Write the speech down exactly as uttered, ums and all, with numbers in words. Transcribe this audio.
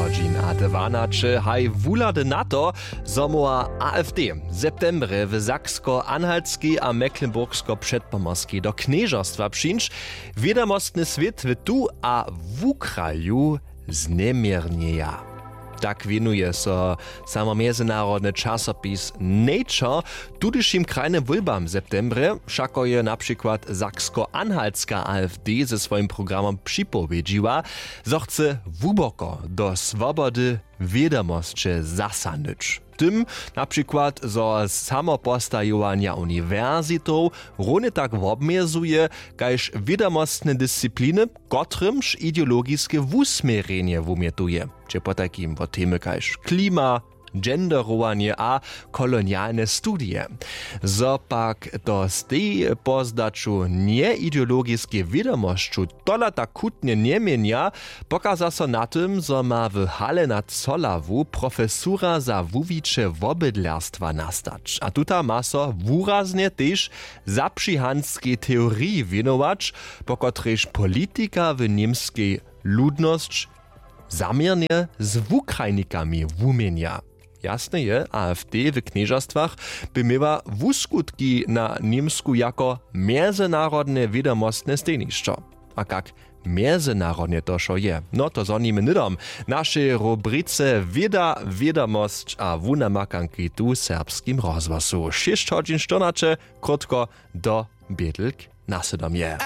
Hodźin a dwanaće haj wuhlady na to, zo móhła afd w septembrje w saksko-anhaltskej a mecklenburgsko-předpomorskej do knježerstwa přińć. Wědomostny swět w tu a wukraju zneměrnjeja. Tak wěnuje so samo mjezynarodny časopis Nature tudyšim krajnym wólbam w septembrje. Wšako je na přikład saksko-anhaltska afd ze swojim programom připowědźiła, zo chce hłuboko do swobody wědomosće zasahnyć, tym na přikład zo samopostajowanja uniwersitow runje tak wobmjezuje kaž wědomostne discipliny, kotrymž ideologiske wusměrjenje wumjetuje, hdźe potajkim wo temy kaž klima, genderowanje a kolonialne studije. Zo pak to stej po zdaću njeideologiskej wědomosću tola tak chutnje njeměnja, pokaza so na tym, zo ma w hale na colawu profesura za wuwiće wobydlerstwa nastać a tuta ma so wuraznje tež zapřihanskej teoriji wěnować, po kotrejž politika w němskej ludnosć zaměrnje z wukrajnikami wuměnja. Jasne je, afd w knježerstwach by měła wuskutki na němsku jako mjezynarodne wědomostne stejnišćo. A kak mjezynarodnje to wšo je, no to zhonimy hnydom w našej rubrice wěda, wědomosć a wunamakanki tu w serbskim rozhłosu. Šěsć hodźin štyrnaće, krótko do bědlk na sydomje.